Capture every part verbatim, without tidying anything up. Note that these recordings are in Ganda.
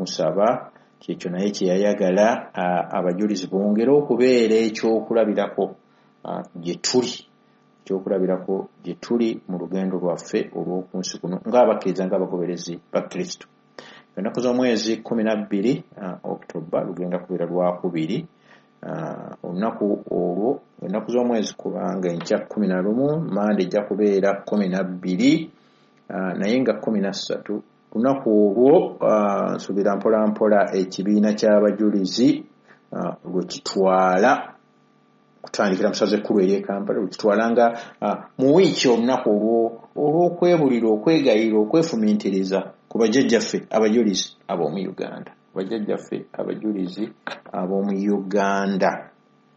okumusaba. Kyekyo naye kye yayagala, abajulizi bongere okubeera ekyokulabirako gye tuli, ekyokulabirako gye tuli mu lugendo lwaffe olw'oku nsi kuno ng'abakkiriza, ng'abagoberezi ba Kristo. Ennaku z'omwezi kkumi na bbiri October lugenda kubeera lwakubiri. Olunaku olwo, ennaku z'omwezi, kubanga enkya kkumi na lumu, Mande ejja kubeera kkumi na bbiri, naye nga kkumi na ssatu lunaku olwo nsuubira mpola mpola ekibiina ky'abajulizi lwe kitwala kutandikira mu ssaza ekkulu ery'e Kampala, lwe kitwala nga mu wiiki olunaku olwo olw'okwebulira, okwegayirira, okwefumiitiriza ku bajjajjaffe abajulizi ab'omu Uganda, bajjajjaffe abajulizi ab'omu Uganda.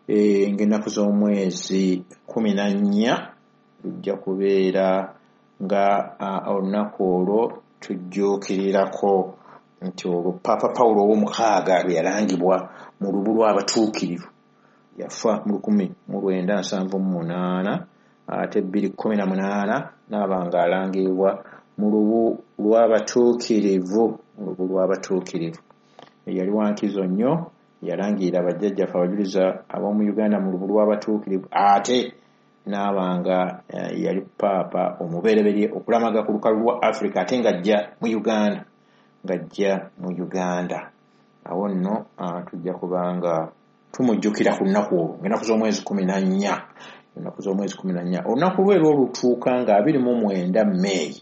Ng'ennaku z'omwezi kkumi na nnya lujja kubeera nga olunaku olwo tujjuukirirako nti olwo Paapa Pawulo ow'omukaaga lwe yalangibwa mu lubu lw'abatuukirivu. Yafa mu lukumi mu lwenda nsanvu mu munaana, ate bbiri kkumi na munaana n'aba ng'alangibwa mu lubu lw'abatuukirivu, mu lubu lw'abatuukirivu. Yali wa nkizo nnyo, yalangirira bajjajjaffe abajulizi ab'omu Uganda mu lubu lw'abatuukirivu, ate n'aba nga yali paapa omubereberye okulamaga ku lukalu lwa Africa, ate ng'ajja mu Uganda, ng'ajja mu Uganda. Awo nno tujja kubanga tumujjukira ku lunaku olwo ng'ennaku z'omwezi kkumi na nnya, ennaku z'omwezi kkumi na nnya. Olunaku lwe lw'olutuuka nga abiri mu mwenda May,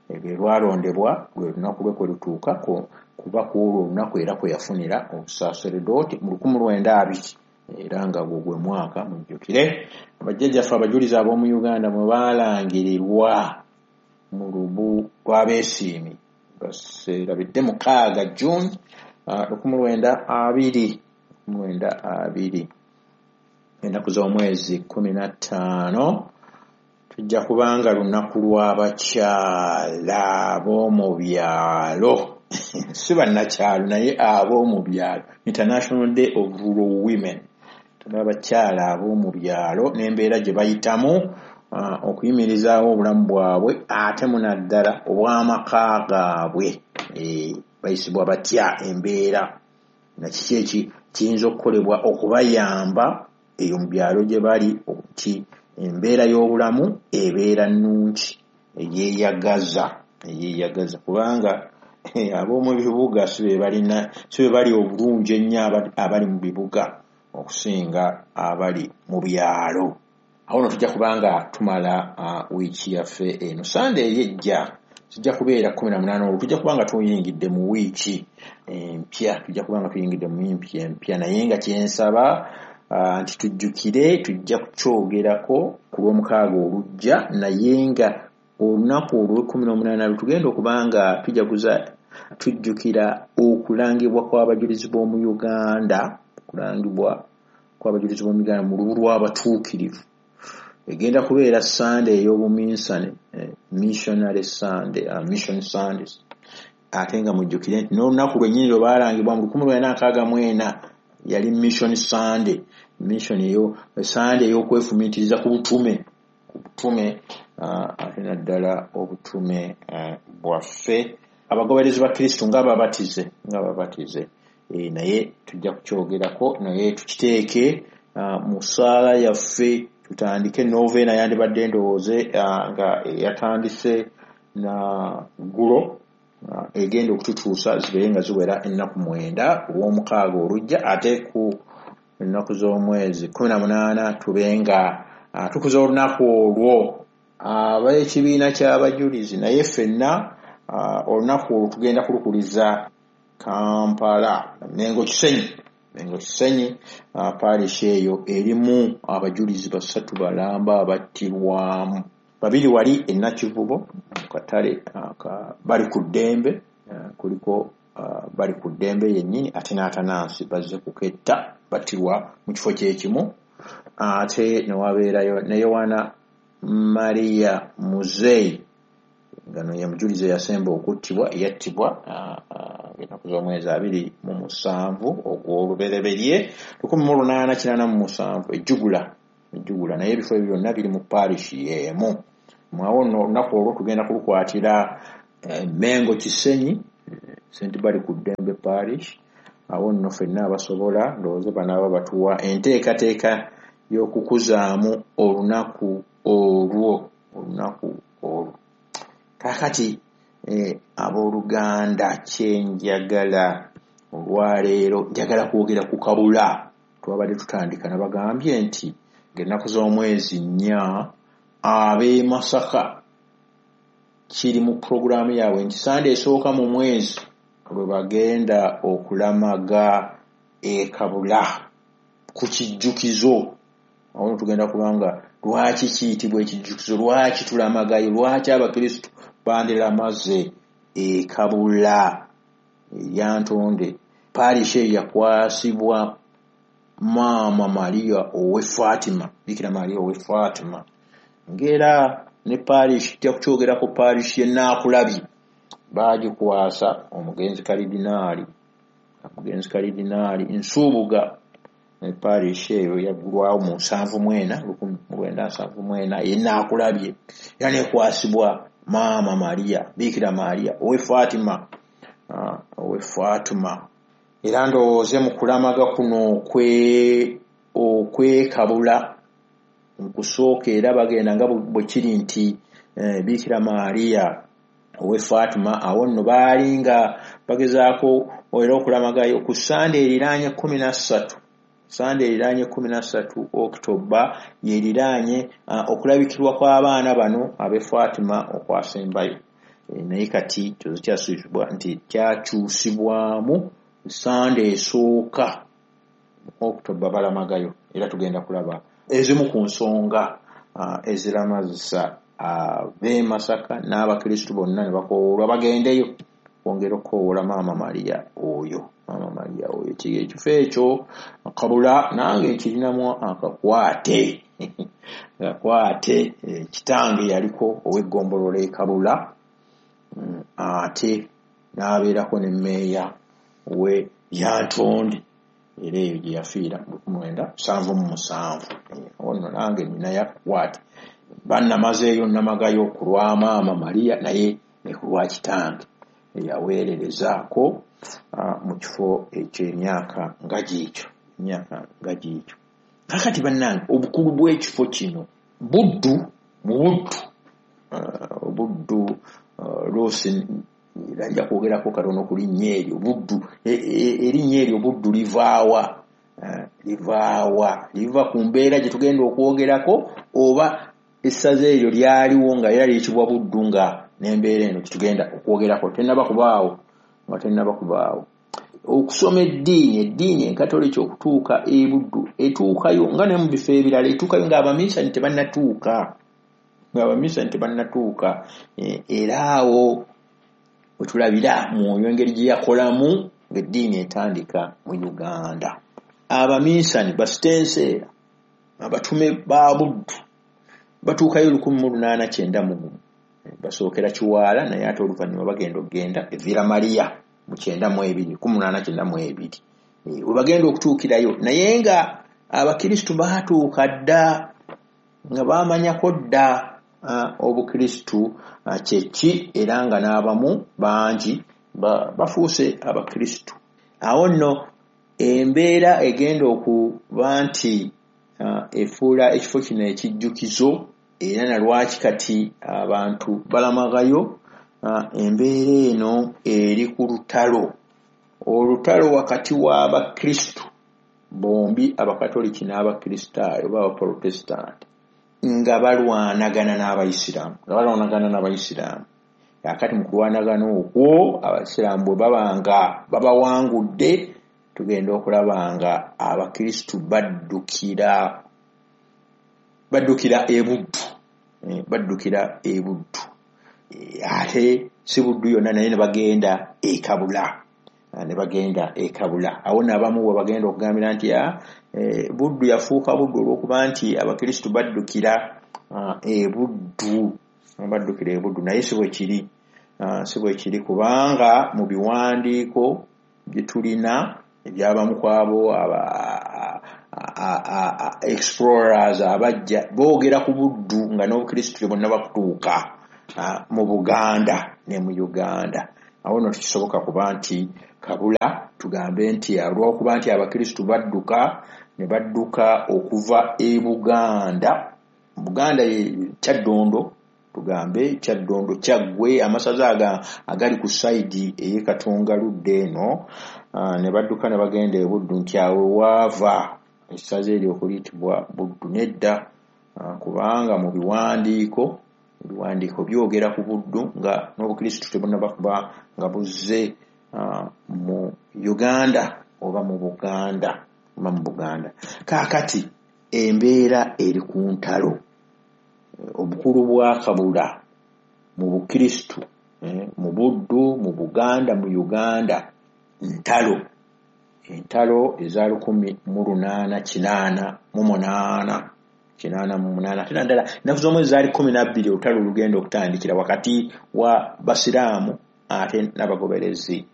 lwe lwalondebwa lwe lunaku lwe kwe lutuuka, kuba ku olwo olunaku era kwe yafunira obusaaseredooti mu lukumi lwenda abiri, era nga gwo gwe mwaka, mujjukire bajjajjaffe abajulizi ab'omu Uganda mwe baalangirirwa mu lubu lw'abeesiimi baseerabidde mukaaga June lukumi lwenda abiri, lukumi lwenda abiri. Ennaku z'omwezi kkumi na ttaano tujja kubanga lunaku lw'abakyala ab'omu byalo, si bannakyalo naye ab'omu byalo, International Day of Rural Women. Abakyala ab'omu byalo n'embeera gye bayitamu okuyimirizaawo obulamu bwabwe, ate munaddala obw'amaka gaabwe, bayisibwa batya embeera na kiki eki kiyinza okukolebwa okubayamba eyo mu byalo gye bali nti embeera y'obulamu ebeera nnungi, eyeeyagaza, eyeeyagaza, kubanga ab'omu bibuga si be balina, si be bali obulungi ennyo abali mu bibuga okusinga abali mu byalo. Awo nno tujja kubanga tumala wiiki yaffe eno. Sande eri ejja kijja kubeera kkumi na munaana olwo tujja kubanga tuyingidde mu wiiki empya, tujja kubanga tuyingidde mu wiiki empya, naye nga kyensaba nti tujjukire tujja kukyogerako ku lw'omukaaga olujja, naye nga olunaku olw'ekkumi n'omunaana lwe tugenda okubanga tujaguza tujjukira okulangibwa kw'abajulizi b'omu Uganda, okulangibwa kw'abajulizi b'omu Uganda mu lubu lw'abatuukirivu. Egenda kubeera Sande ey'obuminsane, missionary Sunday, mission Sundays. Ate nga mujjukire nti n'olunaku lwennyini lwe baalangibwa mu lukumi lwenda nkaaga mu ena yali mission Sunday, mission eyo Sunday ey'okwefumiitiriza ku butume, ku butume, ate naddala obutume bwaffe abagoberezi ba Kristo ng'ababatize, ng'ababatize. Naye tujja kukyogerako, naye tukiteeke mu ssaala yaffe, tutandike novena yandibadde ndowooze nga yatandise na ggulo, egenda okututuusa zibeere nga ziwera ennaku mwenda ku lw'omukaaga olujja, ate ku ennaku z'omwezi kkumi na munaana tube nga tukuza olunaku olwo ab'ekibiina ky'abajulizi. Naye ffenna olunaku olwo tugenda kulukuliza Kampala, Mengo Kisenyi, Mengo Kisenyi, parish eyo erimu abajulizi basatu balamba abattirwamu, babiri wali e Nakivubo mu katale bali ku ddembe, kuliko bali ku ddembe yennyini, ate n'Atanansi bazze kuketta battirwa mu kifo kyekimu, ate ne wabeerayo ne Yowana Maria Muzeeyi nga no ye mujulizi eyasemba okuttibwa, yattibwa ennaku z'omwezi abiri mu musanvu ogw'olubereberye lukumi mu lunaana kinaana mu musanvu ejjugula, ejjugula. Naye ebifo ebyo byonna biri mu parish y'emu. Mwawo nno olunaku olwo tugenda kulukwatira Mengo Kisenyi, Saint Balikuddembe Parish. Awo nno ffenna abasobola ndowooza banaaba batuwa enteekateeka y'okukuzaamu olunaku olwo olunaku olwo. Kaakati eh, abooluganda, kyenjagala olwaleero njagala kwogera ku Kabula. Twabadde tutandika nabagambye nti ng'ennaku z'omwezi nnya ab'e Masaka kiri mu pulogulaamu yaabwe nti Sande esooka mu mwezi lwe bagenda okulamaga e Kabula ku kijjukizo. Awo tugenda kubanga lwaki kiyitibwa ekijjukizo, lwaki tulamagayo, lwaki abakristu bandiramaze e Kabula Lyantonde. Parish eyo yakwasibwa Maama Maria ow'e Fatima, Bikira Maria ow'e Fatima. Ng'era ne parish tujja kukyogerako, parish y'e Naakulabye baagikwasa omugenzi Kalidinaali, omugenzi Kalidinaali Nsubuga. Ne parish eyo yaggulwawo mu nsanvu mu ena, lukumi mu lwenda nsanvu mu ena y'e Naakulabye, era n'ekwasibwa Maama Maria, Bikira Maria ow'e Fatima, ow'e Fatima. Era ndowooze mu kulamaga kuno okwekabula mu kusooka era bagenda nga bwe kiri nti Bikira Maria ow'e Fatima. Awo nno baali nga bagezaako era okulamagayo ku Sande eriraanye kkumi na ssatu, Sande eriraanye kkumi na ssatu Okitoba yeriraanye okulabikirwa kw'abaana bano ab'e Fatima okwasembayo. Naye kati kyozo kyasuubizibwa nti kyakyusibwamu Sande esooka Okitoba balamagayo. Era tugenda kulaba ezimu ku nsonga eziramazisa ab'e Masaka n'abakristu bonna ne bakoowolwa bagendeyo kwongera okukoowoola Maama Maria oyo, Maama Maria oyo. Ekifo ekyo Kabula nange nkirinamu akakwate akakwate. Kitange yaliko ow'eggombolola e Kabula, ate n'abeerako ne mmeeya we Lyantonde, era eyo gye yafiira mu lukumi lwenda nsanvu mu musanvu. Awo nno nange nninayo akakwate, bannamazeeyo nnamagayo ku lwa Maama Maria naye ne ku lwa kitange eyaweererezaako mu kifo eky'emyaka nga giikyo, emyaka nga giikyo. Kaakati bannange, obukulu bw'ekifo kino Buddu, mu Buddu, Buddu Luusi nja kwogerako katono ku linnya eryo Buddu. Erinnya eryo Buddu livaawa, livaawa liva ku mbeera gye tugenda okwogerako, oba essaza eryo lyaliwo nga era liyitibwa Buddu nga n'embeera eno gyetugenda okwogerako tennaba kubaawo, nga tennaba kubaawo. Okusoma eddiini, eddiini enkatoliki okutuuka e Buddu etuukayo nga ne mu bifo ebirala etuukayo ng'abaminsani tebannatuuka, ng'abaminsani tebannatuuka. Era awo wetulabira mwoyo engeri gye yakolamu ng'eddiini etandika mu Uganda. Abaminsani basitenseera abatume ba Buddu batuukayo lukumi mu lunaana kyenda mu gumu, basookera Kiwaala, naye ate oluvannyuma bagenda okugenda e Villa Maria mu kyenda mu ebiri, lukumi lunaana kyenda mu ebiri we bagenda okutuukirayo. Naye nga abakristu baatuuka dda, nga baamanyako dda obukristu kye ki, era nga n'abamu bangi bafuuse abakristu. Awo nno embeera egenda okuba nti efuula ekifo kino ekijjukizo, era na lwaki kati abantu balamagayo. Embeera eno eri ku lutalo, olutalo wakati w'abakristu bombi, abakatoliki n'abakristaayo oba abaprotestant, nga balwanagana n'abayisiraamu, nga balwanagana n'abayisiraamu. Kaakati mu kulwanagana okwo abayisiraamu bwe baba nga babawangudde, tugenda okulaba nga abakristu baddukira baddukira e Buddu, baddukira e Buddu. Ate si Buddu yonna, naye ne bagenda e Kabula, ne bagenda e Kabula. Awo n'abamu bwe bagenda okugambira nti Buddu yafuuka Buddu olw'okuba nti abakristu baddukira e Buddu, baddukira e Buddu. Naye si bwe kiri, si bwe kiri, kubanga mu biwandiiko bye tulina ebyabamu kwabo aba explorers abajja boogera ku Buddu nga n'obukristu bonna bakutuuka mu Buganda ne mu Uganda. Awo nno tekisoboka kuba nti Kabula tugambe nti olw'okuba nti abakristu badduka ne badduka okuva e Buganda. Buganda ye Kyaddondo, tugambe Kyaddondo, Kyaggwe, amasaza aga agali ku sayidi ey'e Katonga ludda eno, ne badduka ne bagenda e Buddu, nti awo waava essaza eryo okuyitibwa Buddu. Nedda, kubanga mu biwandiiko ebiwandiiko byogera ku Buddu nga n'obukristu tebunnaba kuba nga buzze mu Uganda oba mu Buganda oba mu Buganda. Kaakati embeera eri ku ntalo. Obukulu bwa Kabula mu bukristu, mu Buddu, mu Buganda, mu Uganda, ntalo. Entalo eza lukumi mu lunaana kinaana mu munaana kinaana mu munaana, ate naddala ennaku z'omwezi zaali kkumi na bbiri olutalo olugenda okutandikira wakati wa basiraamu ate n'abagoberezi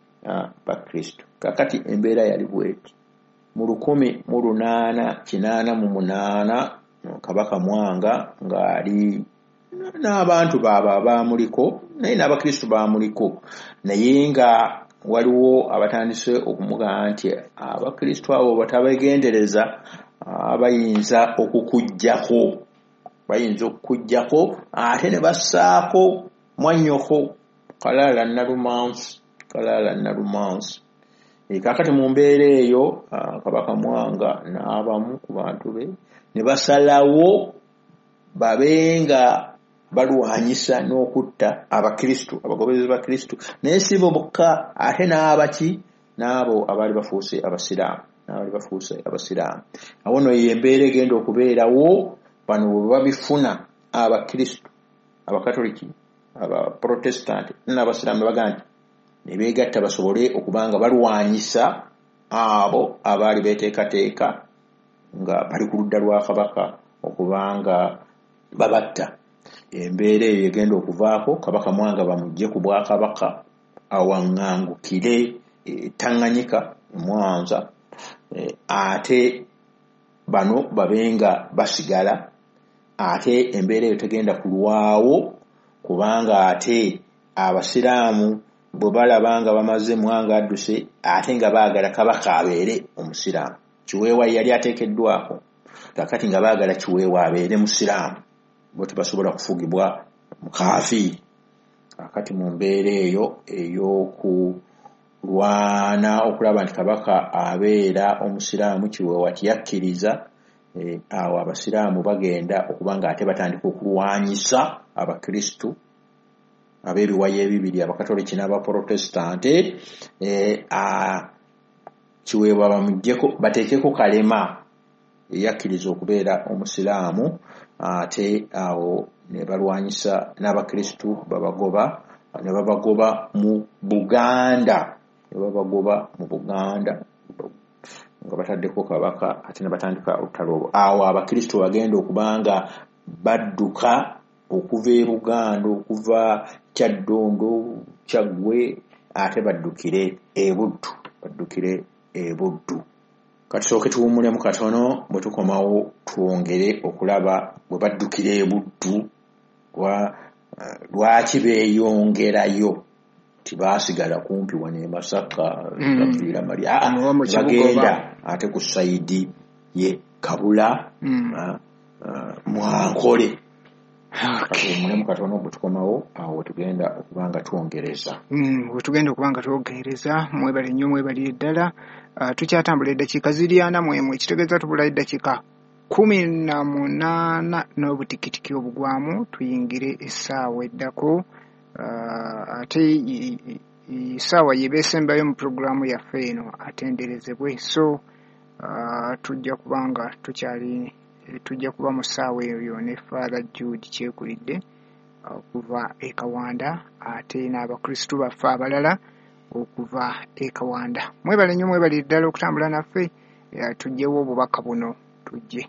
ba Kristo. Kaakati embeera yali bweti. Mu lukumi mu lunaana kinaana mu munaana Kabaka Mwanga ng'ali n'abantu baabwe abaamuliko, naye n'abakristu baamuliko, naye nga waliwo abatandise okumugamba nti abakristu abo batabegendereza bayinza okukuggyako, bayinza okukuggyako ate ne bassaako mwannyoko Kalaala Nalumansi, Kalaala Nalumansi. Kaakati mu mbeera eyo Kabaka Mwanga n'abamu ku bantu be ne basalawo babe nga balwanyisa n'okutta abakristu, abagoberezi ba Kristu, naye si bo bokka, ate n'abaki n'abo abaali bafuuse abasiraamu, n'abaali bafuuse abasiraamu. Awo nno ye embeera egenda okubeerawo bano bwe babifuna abakristu, abakatoliki, abaprotestanti n'abasiraamu ne bagamba nti ne beegatta basobole okuba nga balwanyisa abo abaali beeteekateeka nga bali ku ludda lwa Kabaka okuba nga babatta. Embeera eyo egenda okuvaako Kabaka Mwanga bamuggye ku bwakabaka awaŋŋangukire Tanganyika Mwanza, ate bano babe nga basigala, ate embeera eyo tegenda kulwawo kubanga ate abasiraamu bwe balaba nga bamaze Mwanga adduse ate nga baagala Kabaka abeere omusiraamu. Kiweewa yali ateekeddwako, kaakati nga baagala Kiweewa abeere musiraamu, bo tebasobola kufugibwa mukaafiiri. Kaakati mu mbeera eyo ey'okulwana okulaba nti Kabaka abeera omusiraamu, Kiweewa tiyakkiriza. Awo abasiraamu bagenda okuba nga ate batandika okulwanyisa abakristu ab'ebiwayi ebibiri, abakatoliki n'abaprotestante. Kiweewa bamuggyeko bateekeko Kalema eyakkiriza okubeera omusiraamu, ate awo ne balwanyisa n'abakristu babagoba, ne babagoba mu Buganda, ne babagoba mu Buganda nga bataddeko Kabaka, ate ne batandika olutalo olwo. Awo abakristu bagenda okuba nga badduka okuva e Buganda, okuva Kyaddondo, Kyaggwe, ate baddukire e Buddu, baddukire e Buddu. Katusooke tuwummulemu katono, bwe tukomawo twongere okulaba bwe baddukira e Buddu, lwaki beeyongerayo, tibaasigala kumpi wano e Masaka, baviira mali, bagenda ate ku sayidi ye Kabula, Mwankole. Katuwummulemu katono, bwe tukomawo awo tugenda okuba nga twongereza. Bwe tugenda okuba nga twongereza, mwebale nnyo, mwebalire ddala. Tukyatambula eddakiika ziri ana mu emu, ekitegeeza tubulayo eddakiika kkumi na munaana n'obutikitiki obugwamu tuyingire essaawa eddako. Ate essaawa ye beesembayo mu pulogulaamu yaffe eno atenderezebwe. So tujja kuba nga tukyali tujja kuba mu ssaawa eyo ne Father Jude Kyekulidde okuva e Kawanda, ate n'abakristu baffe abalala okuva e Kawanda. Mwebale nnyo, mwebalire ddala okutambula naffe, tujjewo obubaka buno tujje.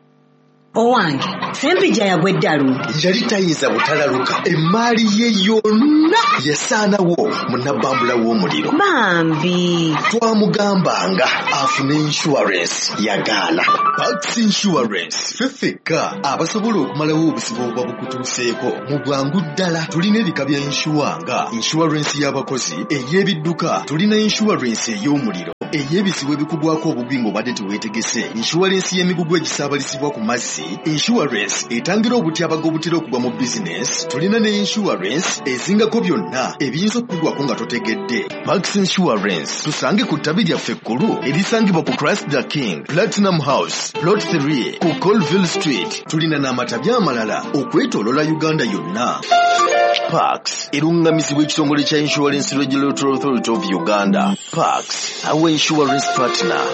Owange, Ssempijja yagwa eddalu. Yali tayinza butalaluka, emmaali ye yonna yasaanawo mu nabbambula w'omuliro. Bambi. Twamugambanga afune insurance, yagaana. Pax Insurance, ffe ffekka abasobola okumalawo obuzibu obuba bukutuuseeko mu bwangu ddala. Tulina ebika bya insure nga insurance y'abakozi, ey'ebidduka, tulina insurance ey'omuliro, ey'ebizibu ebikugwako obugwi ng'obadde teweetegese, insurance y'emigugu egisaabalizibwa ku mazzi, insurance etangira obutyabaga obutera okugwa mu bizinesi, tulina ne insurance ezingako byonna ebiyinza okukugwako nga totegedde. Pax Insurance, tusange ku ttabi lyaffe ekkulu erisangibwa ku Christ the King, Platinum House, Plot three, ku Colville Street. Tulina n'amatabi amalala okwetooloola Uganda yonna. Pax erungamizibwa ekitongole kya Insurance Regulatory Authority of Uganda. Pax, our insurance partner.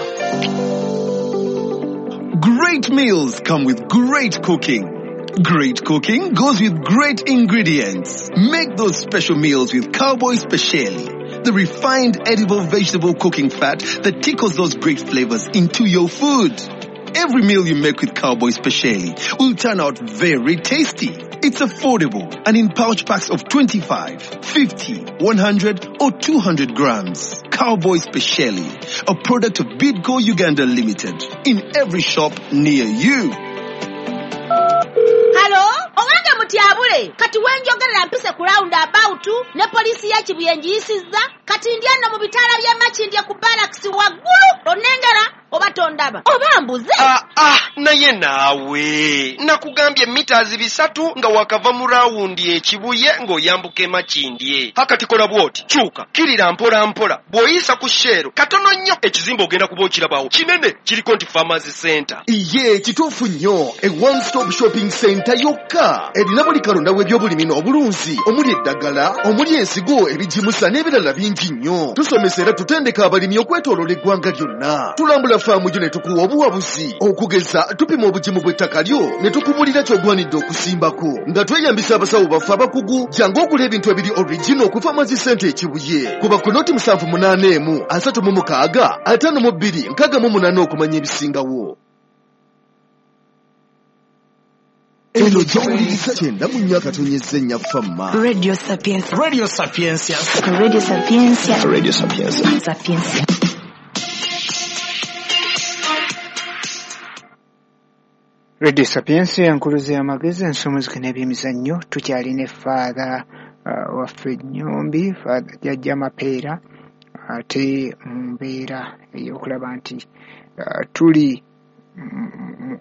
Great meals come with great cooking. Great cooking goes with great ingredients. Make those special meals with Cowboy Speciale, the refined edible vegetable cooking fat that tickles those great flavors into your food. Every meal you make with Cowboy Speciale will turn out very tasty. It's affordable and in pouch packs of twenty-five, fifty, one hundred or two hundred grams. Cowboy Speciale, a product of Bidco Uganda Limited, in every shop near you. Hello? Owange mutyabule, kati wenjogerera mpise ku round about ne poliisi ya Kibuye ngiyisizza, kati ndi ano mu bitaala by'e Makindye ku barracks waggulu, onnengera oba tondaba oba mbuze. Ah, ah, naye naawe nakugambye mitazi bisatu nga wakava mu rawundi e Kibuye ng'oyambuka e Makindye. Hakati kola bw'oti, kyuka kirira mpola mpola, bw'oyisa ku Shell katono nnyo ekizimbe ogenda kuba okirabawo kinene kiriko nti Farmers Center. Iye kituufu nnyo, e one stop shopping center yokka erina buli kalonda w'ebyobulimi n'obulunzi, omuli eddagala, omuli ensigo, ebigimusa n'ebirala bingi nnyo. Tusomesa era tutendeka abalimi okwetooloola eggwanga lyonna. Tulambula faamu gyo ne tukuwa obuwabuzi, okugeza tupima obugimu bw'ettaka lyo ne tukubulira ky'ogwanidde okusimbako nga tweyambisa abasawo baffe abakugu. Jangu ogula ebintu ebiri original ku Farmers Center e Kibuye. Kuba ku noti musanvu munaana emu asatu mu mukaaga ataano mu bbiri nkaaga mu munaana okumanya ebisingawo. Eno gy'owuliriza kyenda mu nnya akatonyezza ennya Fama. Radio Sapientia. Radio Sapientia. Radio Sapientia. Radio Sapientia. Sapientia. Radio Sapientia, enkuluze y'amagezi, ensomuzike n'ebyemizannyo. Tukyalina Father uh, waffe Nnyombi, Father Jjajja Mapeera, ate mu mbeera ey'okulaba nti uh, tuli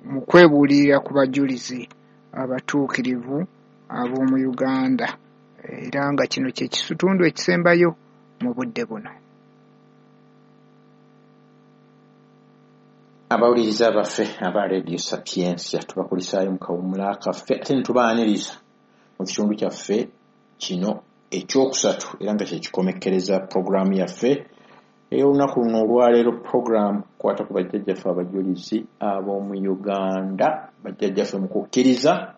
mu kwebuulirira ku bajulizi abatuukirivu ab'omu Uganda, era nga kino kye kitundu ekisembayo mu budde buno. Abawuliriza baffe aba Radio Sapientia, tubakulisaayo mu kawummula kaffe ate ne tubaaniriza mu kitundu kyaffe kino ekyokusatu, era nga kyekikomekkereza puroguraamu yaffe ey'olunaku luno olwaleero. Puroguraamu kwata ku bajjajjaffe abajulizi ab'omu Uganda, bajjajjaffe mu kukkiriza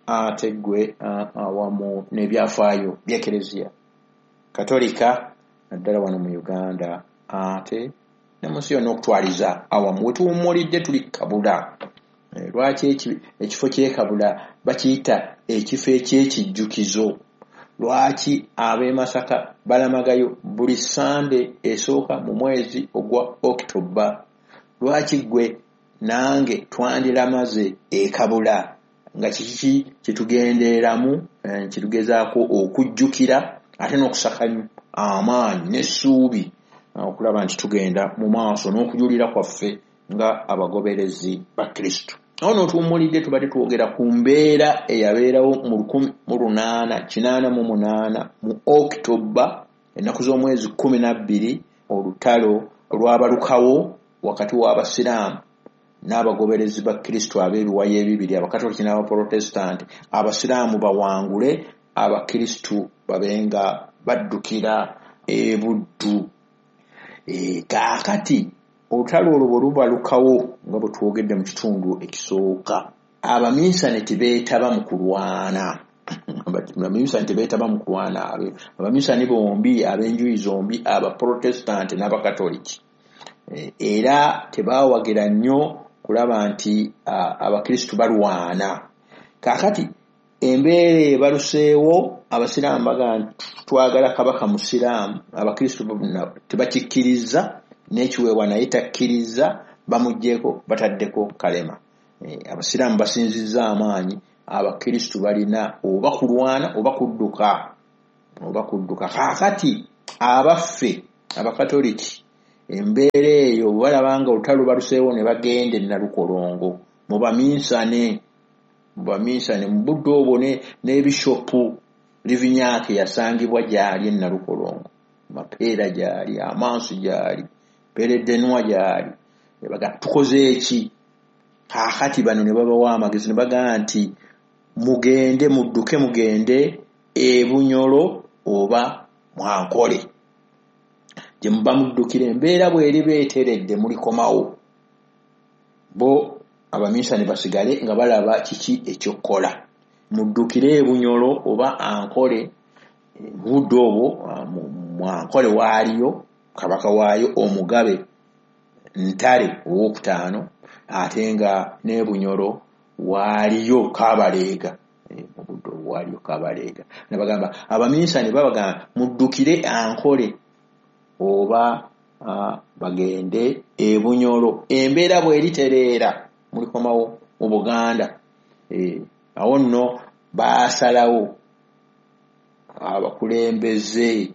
ate ggwe awamu n'ebyafaayo by'Ekereziya Katolika naddala wano mu Uganda ate ne mu nsi yonna okutwaliza awamu. We tuwummulidde tuli Kabula. Lwaki ekifo ky'e Kabula bakiyita ekifo eky'ekijjukizo? Lwaki ab'e Masaka balamagayo buli Sande esooka mu mwezi ogwa October? Lwaki ggwe nange twandiramaze e Kabula? Nga kiki kyetugendereramu, kyetugezaako okujjukira ate n'okusaka amaanyi n'essuubi okulaba nti tugenda mu maaso n'okujulira kwaffe nga abagoberezi ba Kristo. Awo n'otuwummulidde tubadde twogera ku mbeera eyabeerawo mu lukumi mu lunaana kinaana mu munaana mu October, ennaku z'omwezi kkumi na bbiri, olutalo olwabalukawo wakati w'Abasiraamu n'abagoberezi ba Kristo ab'ebiwayi ebibiri, Abakatoliki n'Abaprotestanti. Abasiraamu bawangule, Abakristu babe nga baddukira e Buddu. E, kaakati olutalo olwo bwe lubalukawo nga bwe twogedde mu kitundu ekisooka, abaminsani tebeetaba mu kulwana. Abaminsani tebeetaba mu kulwana. Abaminsani bombi ab'enjuyi zombi, Abaprotestanti n'Abakatoliki, era tebaawagira nnyo kulaba nti abakristu balwana. Kaakati embeera ebaluseewo, abasiraamu bagamba nti twagala kabaka musiraamu, abakristu tebakikkiriza, n'ekiweebwa naye takkiriza, bamuggyeko bataddeko kalema. Abasiraamu basinzizza amaanyi, abakristu balina oba kulwana oba kudduka oba kudduka. Kaakati abaffe abakatoliki embeera eyo balaba nga olutalo baluseewo ne bagenda e Nalukolongo mu baminsane mu baminsane mu budde obwo ne bishopu Livinyaake yasangibwa gy'ali e Nalukolongo, Mapeera gy'ali, Amansu gy'ali, Peredenwa gy'ali. Ne bagamba tukoze eki? Kaakati bano ne babawa amagezi ne bagamba nti mugende mudduke mugende e Bunyoro oba Mwankole gye muba muddukira, embeera bw'eriba eteredde mulikomawo. Bo abaminsani basigale nga balaba kiki ekyokukola. Muddukire e Bunyoro oba Ankole. Budde obwo Mwankole waaliyo kabaka waayo omugabe Ntare owokutaano, ate nga ne Bunyoro waaliyo Kabaleega. Mu budde obwo waaliyo Kabaleega. Ne bagamba abaminsani babagamba muddukire Ankole oba bagende e Bunyoro, embeera bw'eritereera mulikomawo mu Buganda. Awo nno baasalawo abakulembeze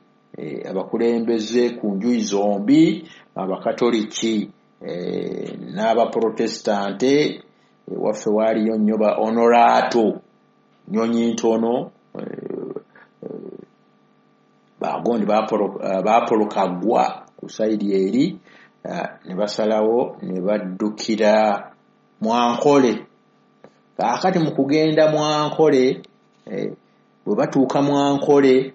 abakulembeze ku njuyi zombi, abakatoliki n'abaprotestante. Waffe waaliyo nnyo ba Honorato Nyonyi Ntono, bagondi baapolokagwa ku sayidi eri, ne basalawo ne baddukira Mwankole. Kaakati mu kugenda Mwankole, bwe batuuka Mwankole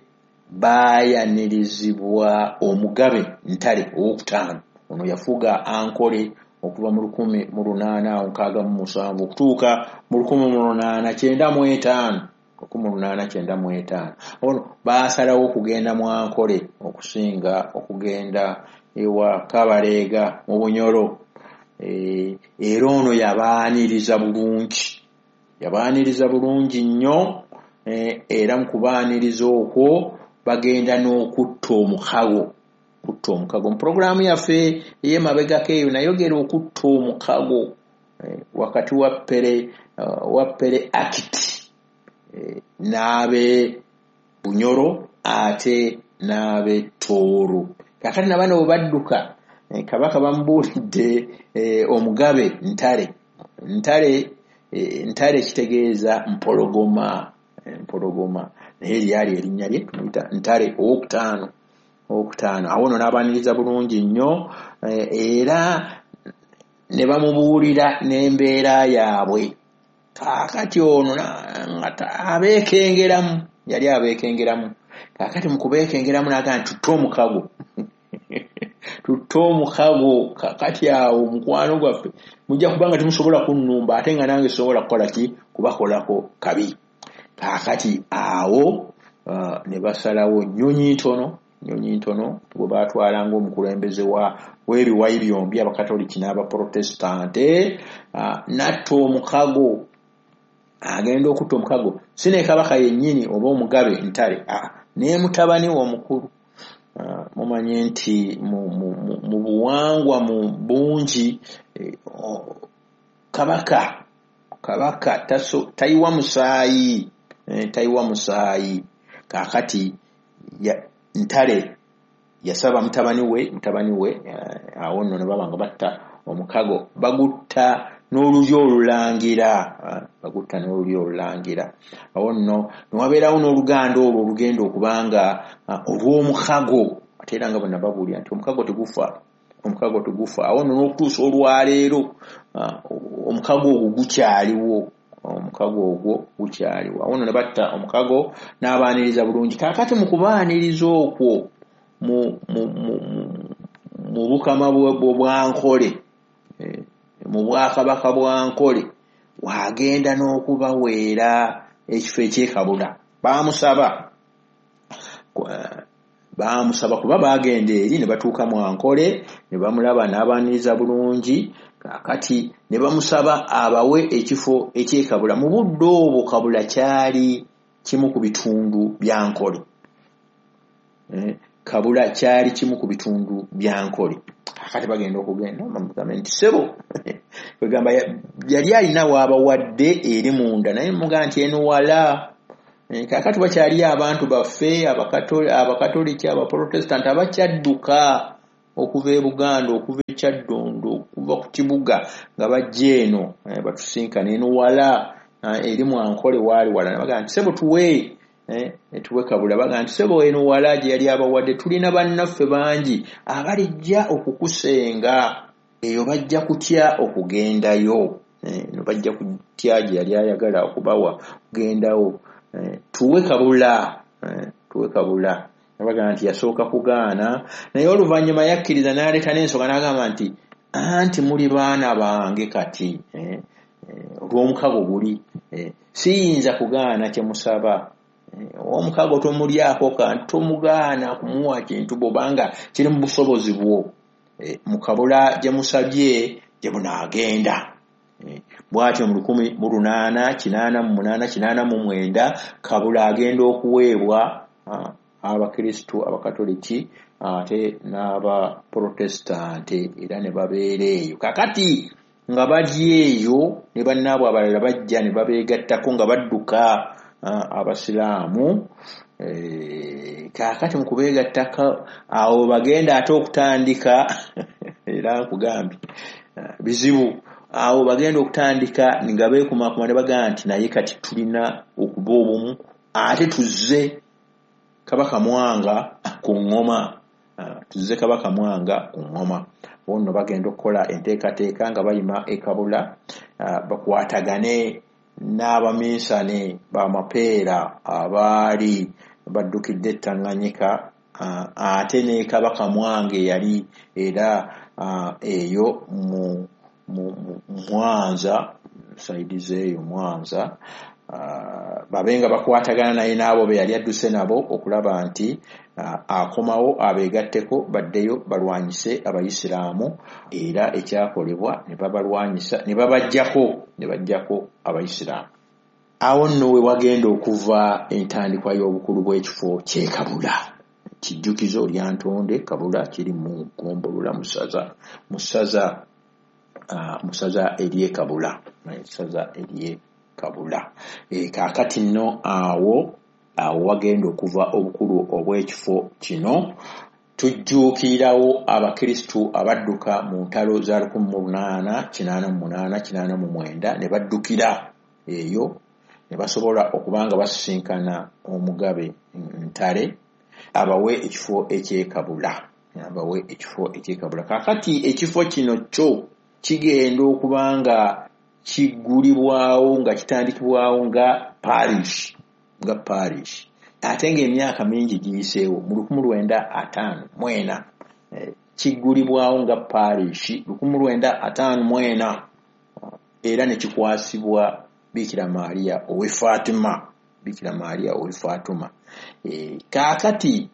baayanirizibwa omugabe Ntare owokutaano. Ono yafuga Ankole okuva mu lukumi mu lunaana nkaaga mu musanvu okutuuka mu lukumi mu lunaana kyenda mu etaano lukumi mu lunaana kyenda mu etaano. Ono baasalawo okugenda Mwankole okusinga okugenda ewa Kabaleega mu Bunyoro. Era ono yabaaniriza bulungi, yabaaniriza bulungi nnyo. Era mu kubaaniriza okwo bagenda n'okutta omukago kutta omukago. Mu pulogulaamu yaffe ey'emabegako eyo nayogera okutta omukago wakati wa Pere wa Pere Akiti n'abe Bunyoro ate n'abe Tooro. Kaakati na bano bwe badduka, kabaka bamubuulidde omugabe Ntare. Ntare Ntare kitegeeza mpologoma, mpologoma, naye lyali erinnya lye tumuyita Ntare owokutaano owokutaano. Awo nno n'abaaniriza bulungi nnyo, era ne bamubuulira n'embeera yaabwe. Kaakati ono nga abeekengeramu, yali abeekengeramu. Kaakati mu kubeekengeramu n'agamba nti tutte omukago tutte omukago. Kaakati awo mukwano gwaffe mujja kubanga temusobola kunnumba, ate nga nange sobola kukola ki? Kubakolako kabi. Kaakati awo ne basalawo Nnyonyi Ntono Nnyonyi Ntono gwe baatwalanga omukulembeze w'ebiwayi byombi abakatoliki n'abaprotestante, n'atta omukago. Agenda okutta omukago si ne kabaka yennyini oba omugabe Ntare, ne mutabani we omukulu. Mumanye nti mu buwangwa mu bungi kabaka kabaka tayiwa musaayi tayiwa musaayi. Kaakati Ntare yasaba mutabani we mutabani we awo nno ne baba nga batta omukago, bagutta n'olulyo olulangira bagutta n'olulyo olulangira. Awo nno ne wabeerawo n'oluganda olwo olugenda okubanga olw'omukago, ate era nga bonna babuulira nti omukago tegufa omukago tegufa. Awo nno n'okutuusa olwaleero omukago ogwo gukyaliwo omukago ogwo gukyaliwo. Awo nno ne batta omukago n'abaaniriza bulungi. Kaakati mu kubaaniriza okwo mu mu mu mu bukama bwa Nkole, mu bwakabaka bwa Nkole, wagenda n'okubaweera ekifo ekyekabula. Baamusaba baamusaba kuba baagenda eri ne batuuka mu Ankole ne bamulaba n'abaaniriza bulungi. Kaakati ne bamusaba abawe ekifo eky'e Kabula. Mu budde obwo Kabula kyali kimu ku bitundu bya Nkole. Eh, Kabula kyali kimu ku bitundu bya Nkole. Kaakati bagenda okugenda bamugambe nti ssebo, kwegamba yali alina waabawadde eri munda, naye mugamba nti eno wala. Eh, kaakati wakyaliyo abantu baffe Abakatoliki, Abaprotestant abakyadduka okuva e Buganda, okuva e Kyaddondo, okuva ku kibuga nga bajja eno, eh, batusinkana eno wala, eh, eri Mwankole waali wala. Bagamba nti ssebo tuwe, tuwe Kabula. Bagamba nti ssebo eno wala gye yali abawadde, tulina bannaffe bangi abalijja okukusenga eyo, bajja kutya okugendayo, eno bajja kutya gye yali ayagala okubawa kugendawo, tuwe Kabula, tuwe Kabula. Bagamba nti yasooka kugaana, naye oluvannyuma yakkiriza n'aleeta n'ensonga n'agamba nti anti muli baana bange, kati olw'omukago guli siyinza kugaana kye musaba. Omukago tomulyako kantu, tomugaana kumuwa kintu bw'obanga kiri mu busobozi bwo. Mu Kabula gye musabye gye munaagenda. Bw'atyo mu lukumi mu lunaana kinaana mu munaana kinaana mu mwenda Kabula agenda okuweebwa Abakristu Abakatoliki ate n'Abaprotestante, era ne babeera eyo. Kakati nga bali eyo ne bannaabwe abalala bajja ne babeegattako nga badduka Abasiraamu. Kaakati mu kubeegattako awo bagenda ate okutandika, era nkugambye bizibu, awo bagenda okutandika nga beekumaakuma ne bagamba nti naye kati tulina okuba obumu ate tuzze Kabaka Mwanga ku ŋŋoma, tuzze Kabaka Mwanga ku ŋŋoma. Bo nno bagenda okukola enteekateeka nga bayima e Kabula, bakwatagane n'abaminsane bamapeera abaali baddukidde e Tanganyika, ate ne Kabaka Mwanga eyali era eyo mu Mwanza, sayidi z'eyo Mwanza, babe nga bakwatagana naye n'abo be yali adduse nabo okulaba nti akomawo abeegatteko baddeyo balwanyise Abayisiraamu. Era ekyakolebwa ne babalwanyisa ne babaggyako ne baggyako Abayisiraamu. Awo nno we wagenda okuva entandikwa y'obukulu bw'ekifo ky'e Kabula. Kijjukizo Lyantonde Kabula kiri mu ggombolola mu ssaza mu ssaza mu ssaza ery'e Kabula, ssaza ery'e Kabula. Kaakati nno awo awo wagenda okuva obukulu obw'ekifo kino. Tujjuukirirawo Abakristu abadduka mu ntalo za lukumi mu lunaana kinaana mu munaana kinaana mu mwenda ne baddukira eyo ne basobola okuba nga basisinkana Omugabe Ntale abawe ekifo eky'e Kabula, abawe ekifo eky'e Kabula. Kaakati ekifo kino kyo kigenda okuba nga kiggulibwawo nga kitandikibwawo nga parish, nga parish, ate ng'emyaka mingi giyiseewo. Mu lukumi lwenda ataano mu ena kiggulibwawo nga parish, lukumi lwenda ataano mu ena, era ne kikwasibwa Bikira Maria ow'e Fatima, Bikira Maria ow'e Fatima. Kaakati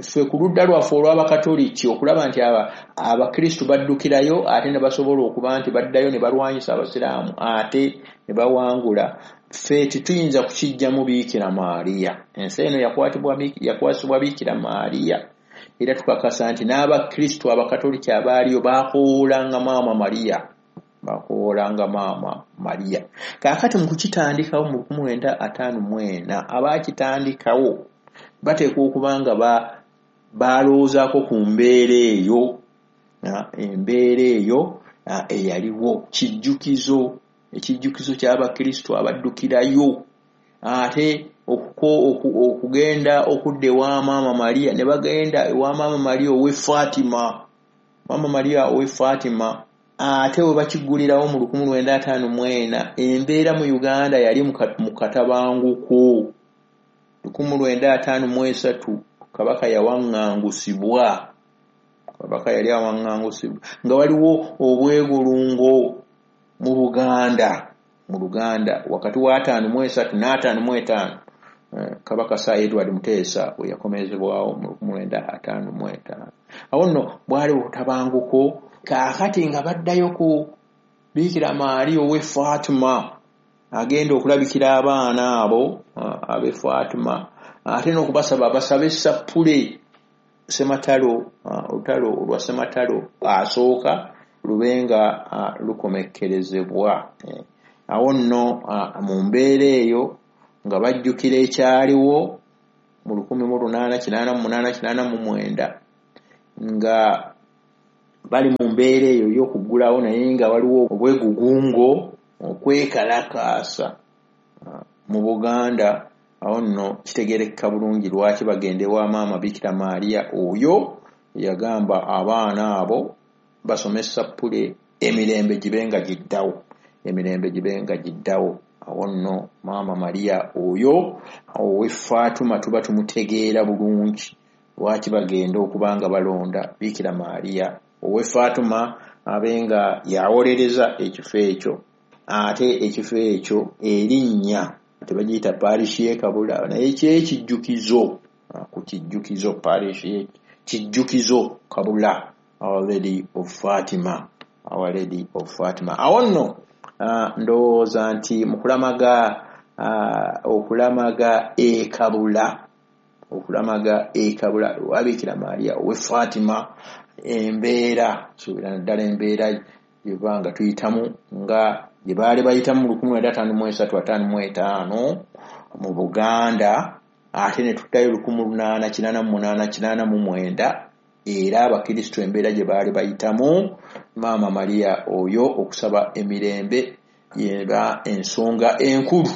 ffe ku ludda lwaffe olw'Abakatoliki okulaba nti Abakristu baddukirayo ate ne basobola okuba nti baddayo ne balwanyisa Abasiraamu ate ne bawangula, ffe tetuyinza kukiggyamu Bikira Maria. Ensi eno yakwasibwa Bikira Maria, era tukakasa nti n'Abakristu Abakatoliki abaaliyo baakowoolanga Maama Maria, bakowoolanga Maama Maria. Kaakati mu kukitandikawo mu lukumi lwenda ataano mu ena abaakitandikawo bateekwa okuba nga balowoozaako ku mbeera eyo, embeera eyo eyaliwo. Kijjukizo, ekijjukizo ky'Abakristu abaddukirayo ate okugenda okudda ewa Maama Maria, ne bagenda ewa Maama Maria ow'e Fatima, Maama Maria ow'e Fatima. Ate we bakiggulirawo mu lukumi lwenda ataano mu ena embeera mu Uganda yali mu katabanguko. Lukumi lwenda ataano mu esatu Kabaka yawaŋŋangusibwa, Kabaka yali awaŋŋangusibwa nga waliwo obwegulungo mu Buganda, mu Luganda wakati wa ataano mu esatu n'ataano mu etaano. Kabaka Sir Edward Muteesa we yakomezebwawo mu lukumi lwenda ataano mu etaano. Awo nno bwali obutabanguko. Kaakati nga baddayo ku Bikira Maria ow'e Fatima agenda okulabikira abaana abo ab'e Fatima, ate n'okubasaba basabe essapule Ssematalo, olutalo olwa Ssematalo asooka lube nga lukomekkerezebwa. Awo nno mu mbeera eyo nga bajjukira ekyaliwo mu lukumi mu lunaana kinaana mu munaana kinaana mu mwenda, nga bali mu mbeera eyo ey'okuggulawo, naye nga waliwo obwegugungo okwekalakaasa mu Buganda. Awo nno kitegeerekeka bulungi lwaki bagenda ewa Maama Bikira Maria oyo yagamba abaana abo basome essapule emirembe gibe nga giddawo, emirembe gibe nga giddawo. Awo nno Maama Maria oyo ow'e Fatima tuba tumutegeera bulungi lwaki bagenda okuba nga balonda Bikira Maria ow'e Fatima abe nga yawolereza ekifo ekyo. Ate ekifo ekyo erinnya tebagiyita parish y'e Kabula, naye kyekijjukizo ku kijjukizo parish kijjukizo Kabula, Our Lady of Fatima, Our Lady of Fatima. Awo nno ndowooza nti mu kulamaga okulamaga e Kabula, okulamaga e Kabula wa Bikira Maria ow'e Fatima, embeera suubira naddala embeera gyeba nga tuyitamu nga gye baali bayitamu mu lukumi lwenda ataano mu esatu ataano mu etaano mu Buganda, ate ne tuddayo lukumi lunaana kinaana mu munaana kinaana mu mwenda, era abakristo embeera gye baali bayitamu Maama Maria oyo okusaba emirembe yeba ensonga enkulu,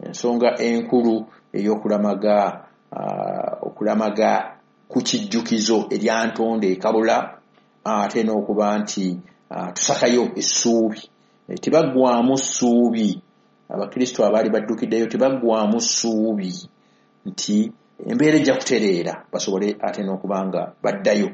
ensonga enkulu ey'okulamaga uh, okulamaga ku kijjukizo erya Ntonde e Kabula, ate n'okuba nti uh, tusakayo essuubi. E, tebaggwamu ssuubi, abakristo abaali baddukiddeyo tebaggwamu ssuubi nti embeera ejja kutereera, basobole ate n'okuba nga baddayo,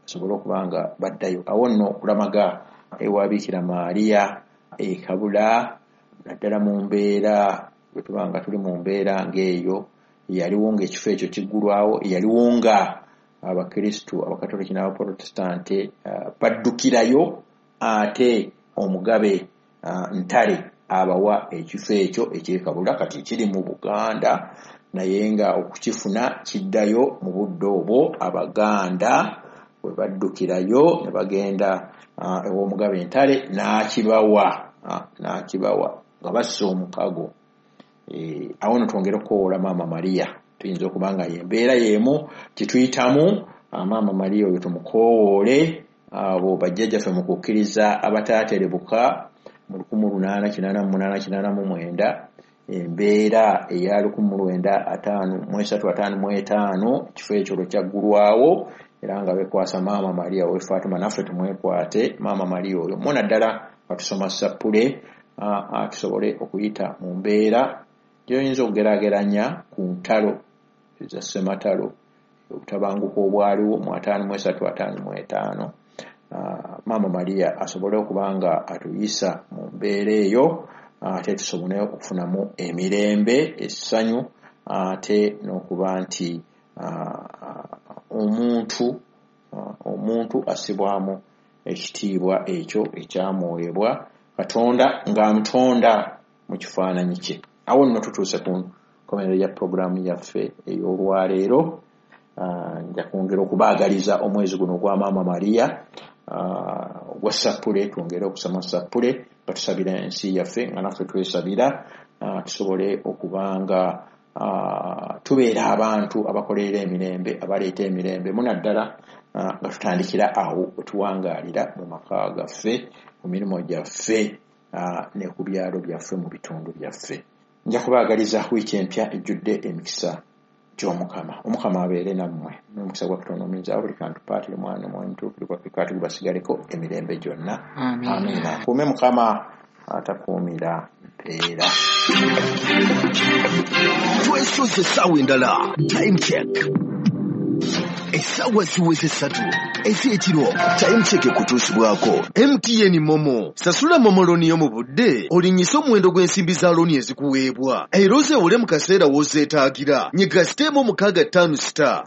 basobole okuba nga baddayo. Awo nno okulamaga ewa Bikira Maria e Kabula, naddala mu mbeera bwe tuba nga tuli mu mbeera ng'eyo yaliwo ng'ekifo ekyo kiggulwawo, yaliwo nga abakristo abakatoliki n'abaprotestante uh, baddukirayo, ate omugabe uh, Ntare abawa ekifo ekyo eky'e Kabula. Kati kiri mu Buganda, naye nga okukifuna kiddayo mu budde obwo Abaganda bwe baddukirayo ne bagenda uh, ew'omugabe Ntare n'akibawa, uh, n'akibawa nga bassa omukago. E, awo nno twongere okukowoola Maama Maria, tuyinza okuba nga y'embeera y'emu tituyitamu. Maama Maria oyo tumukowoole, abo bajjajjaffe mu kukkiriza abataaterebuka mu lukumi lunaana kinaana mu munaana kinaana mu mwenda, embeera eya lukumi lwenda ataano mu esatu ataano mu etaano, ekifo ekyo lwe kyaggulwawo, era nga beekwasa Maama Maria ow'e Fatima. Naffe tumwekwate Maama Maria oyo mu naddala nga tusoma ssapule, tusobole okuyita mu mbeera gy'oyinza okugeraageranya ku ntalo eza Ssematalo, obutabanguko obwaliwo mu ataano mu esatu ataano mu etaano. Maama Maria asobole okuba nga atuyisa mu mbeera eyo, ate tusobole okufunamu emirembe, essanyu, ate n'okuba nti omuntu omuntu assibwamu ekitiibwa ekyo ekyamuweebwa Katonda ng'amutonda mu kifaananyi kye. Awo nno tutuuse ku nkomerero ya pulogulaamu yaffe ey'olwaleero. Nja kwongera okubaagaliza omwezi guno ogwa Maama Maria ogwa ssapule, twongere okusoma ssapule nga tusabira ensi yaffe, nga naffe twesabira, tusobole okuba nga tubeera abantu abakolerera emirembe, abaleeta emirembe, munaddala nga tutandikira awo we tuwangaalira mu maka gaffe, mu mirimu gyaffe, ne ku byalo byaffe, mu bitundu byaffe. Nja kubaagaliza wiiki empya ejjudde emikisa gy'Omukama. Omukama abeere nammwe, n'omukisa gwa Katonda omuyinza buli kantu, Paatiri, Mwana, Omwoyo Mutuukirivu, Katonda gubasigaleko emirembe gyonna. Amiina. Akuume Mukama atakuumira mpeera. Twesoze essaawa endala. Time check. Essaawa ziweze ssatu ez'ekiro. Time Check ekutuusibwako M T N MoMo. Sasula MoMo loan yo mu budde, olinnyise omuwendo gw'ensimbi za looni ezikuweebwa, era ozeewole mu kaseera w'ozeetaagira. Nyiga star emu mukaaga ttaano star.